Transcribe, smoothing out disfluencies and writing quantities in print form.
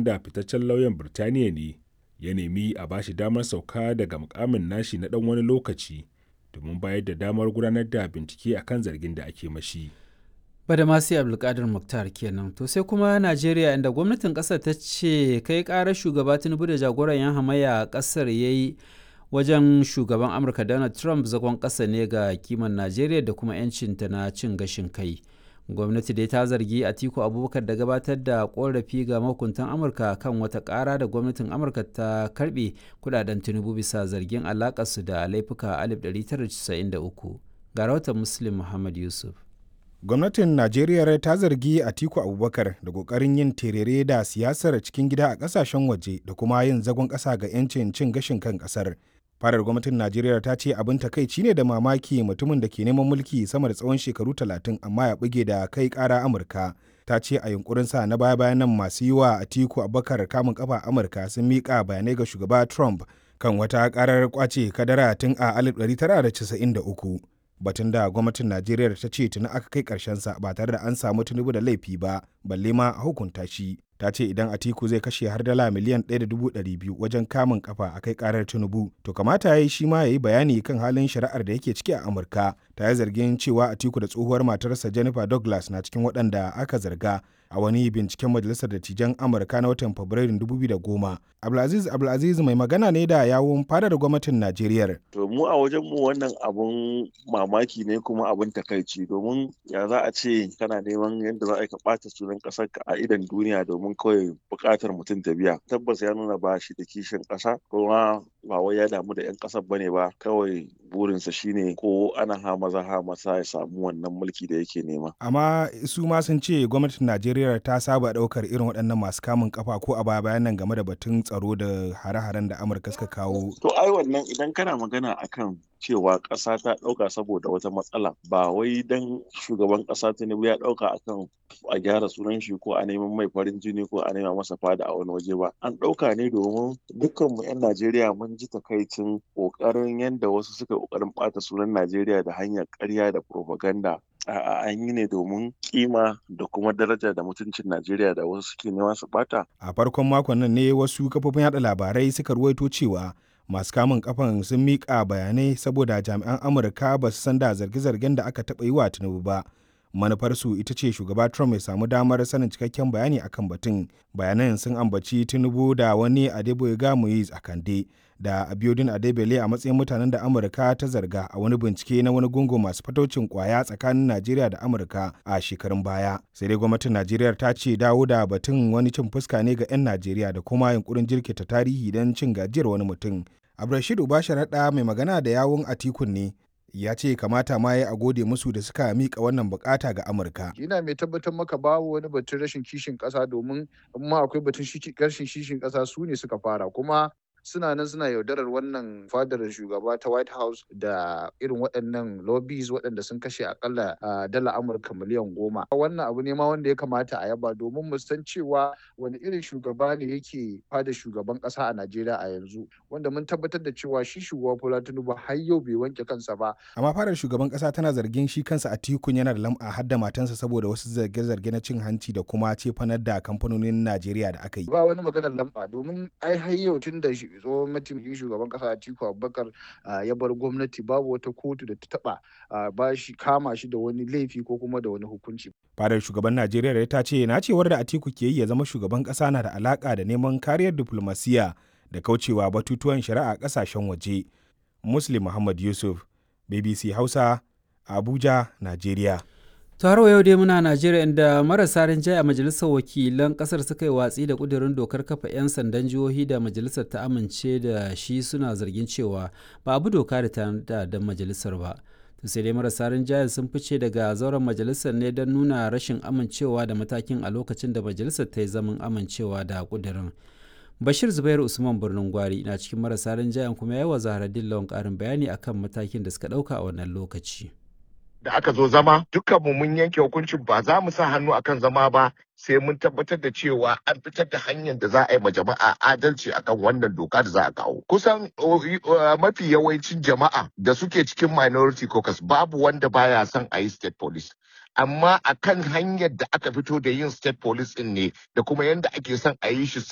wanda fitaccen lauyan Birtaniya ne, ya nemi a ba shi damar sauka daga mukamin nashi na ɗan wani lokaci domin bayar da damar gudanar da bincike akan zargin da ake mashi. Badamasi Abdulkadir Mukhtar kenan. To sai kuma Najeriya, inda gwamnatin ƙasar ta ce kai ƙarar shugaba Tinubu da jagoran 'yan hamayya a ƙasar ya yi wajen shugaban Amurka Donald Trump zagon ƙasa ne ga kiman Najeriya da kuma 'yancinta na cin gashin kai. Gwamnati dai ta zargi Atiku Abubakar da gabatar da korafi ga mahukuntan Amurka kan wata ƙara da gwamnatin Amurka ta karbe kudaden Tinubu bisa zargin alakarsu da laifuka 1993. Ga rahoton Muslim Muhammad Yusuf. Gwamnatin Najeriya ta zargi Atiku Abubakar da kokarin yin terere da siyasar cikin gida a kasashen waje da kuma yin zagon ƙasa ga 'yancin cin gashin kan ƙasar. Farar gwamnatin Najeriya ta ce abin takaici ne da mamaki mutumin da ke neman mulki sama da tsawon shekaru 30 amma ya buge da kai kara Amurka. Ta ce a yunkurin sa na baya bayan nan, masu yi wa Atiku Abubakar kamun kafa Amurka sun miƙa bayanai ga shugaba Trump kan wata karar kwace kadara tun a 1993, batun da gwamnatin Najeriya ta ce tuni aka kai sa ba tare da an samu Tinubu da laifi ba, balle ma a hukunta shi. Ta ce idan Atiku zai kashe har dala miliyan 1.200 wajen kamun kafa a kai karar Tinubu, to kamata ya yi shi ma ya yi bayani kan halin shari'ar da yake ciki a Amurka. Ta yi zargin cewa Atiku da tsohuwar matarsa Jennifer Douglas na cikin waɗanda aka zarga a wani binciken Majalisar Dattijan Amurka na watan Fabrairun 2010. Abdulaziz Abdulaziz mai magana ne da yawun fadar gwamnatin Najeriya. To, mu a wajen mu wannan abun mamaki ne kuma abun takaici, domin ya za a ce kana neman yadda za a ka ɓata sunan ƙasar ka a idon duniya domin kawai buƙatar mutum ta biya. Tabbas ya nuna ba shi da kishin ƙasa, kuma ba wai ya damu da 'yan ƙasar bane ba, kawai burinsa shine ko ana ha maza ha masa ya samu wannan mulki da yake nema. Amma su ma sun ce gwamnatin Najeriya ta saba ɗaukar irin waɗannan masu kamun kafa ko a baya bayan nan game da batun tsaro da hare-haren da Amurka suka kawo. To, ai wannan idan kana magana akan cewa ƙasa ta ɗauka saboda wata matsala, ba wai dan shugaban ƙasa Tinubu ya ɗauka akan a gyara sunan shi ko a neman mai farin jini ko a nema masa fada a wani waje ba. An ɗauka ne domin dukkanmu 'yan Najeriya mun ji takaicin ƙoƙarin yadda wasu suka ƙoƙarin ɓata sunan Najeriya da hanyar ƙarya da propaganda. A'a, an yi ne domin kima da kuma daraja da mutuncin Najeriya da wasu suke nema su bata. A farkon makon nan ne wasu kafofin yada labarai suka ruwaito cewa masu kamun kafan sun miƙa bayanai saboda jami'an Amurka ba su san da zarge-zargen da aka taɓa yi wa Tinubu ba. Manufarsu ita ce shugaba Trump ya samu damar sanin cikakken bayani akan batun. Bayanan sun ambaci Tinubu da wani Adeboyega Muiz Akande da Abiodun Adebele a matsayin mutanen da Amurka ta zarga a wani bincike na wani gungun masu fatocin kwaya tsakanin Najeriya da Amurka a shekarun baya. Sai dai gwamnatin Najeriya ta ce dawo da batun wani cin fuska ne ga 'yan Najeriya da kuma yunkurin jirkita tarihi don cin gajiyar wani mutum. Abdulrashid Ubasharaɗa mai magana da yawun Atikun ne, ya ce kamata ma ya a gode musu da suka mika wannan bukata ga Amurka. Ina mai tabbatar maka babu wani batun rashin kishin ƙasa, domin in ma akwai batun rashin kishin ƙasa, su ne suka fara, kuma suna nan suna yaudarar wannan fadar shugaba ta White House da irin waɗannan lobbies waɗanda sun kashe akalla dala Amurka miliyan 10. Wannan abu ne ma wanda ya kamata a yaba, domin mu san cewa wani irin shugaba ne yake fadar shugaban ƙasa a Najeriya a yanzu, wanda mun tabbatar da cewa shi shugaba Bola Tinubu har yau bai wanke kansa ba. Amma fadar shugaban ƙasa tana zargin shi kansa Atikun yana da lam'a har da matansa saboda wasu zarge-zarge na cin hanci da kuma cefanar da kamfanonin Najeriya da aka yi. Ba wani maganar lam'a, domin ai har yau tun da tsohon mataimakin shugaban kasa Atiku Abubakar ya bar gwamnati, babu wata kotu da ta taba ba shi kama shi da wani laifi ko kuma da wani hukunci. Fadar shugaban Najeriya ta ce nacewar da Atiku ke yi ya zama shugaban kasa na da alaka da neman kariyar diplomasiya da kaucewa batutuwan shari'a kasashen waje. Muslim Muhammad Yusuf, BBC Hausa, Abuja, Najeriya. To, har yau dai muna Najeriya, inda marasa rinjaye a majalisar wakilan kasar suka yi watsi da kudirin dokar kafa 'yan sandan jihohi da majalisar ta amince da shi, suna zargin cewa ba abu doka da ta da majalisar ba. To sai dai marasa rinjayen sun fice daga zauren majalisar ne don nuna rashin amincewa da matakin a lokacin da majalisar ta yi zaman amincewa da kudirin. Bashir Zubairu Usman Birnin Gwari na cikin marasa rinjayen, kuma ya yi wa Zaharaddin Lawan ƙarin bayani akan matakin da suka ɗauka a wannan lokaci. Da aka zo zama, dukkanmu mun yanke hukuncin ba za mu sa hannu akan zama ba sai mun tabbatar da cewa an fitar da hanyar da za a yi ma jama'a adalci akan wannan doka da za a kawo. Kusan mafi yawancin jama'a da suke cikin minority caucus, babu wanda baya son a yi state police. Amma akan hanyar da aka fito da yin state police din ne da kuma yadda ake son a yi shi.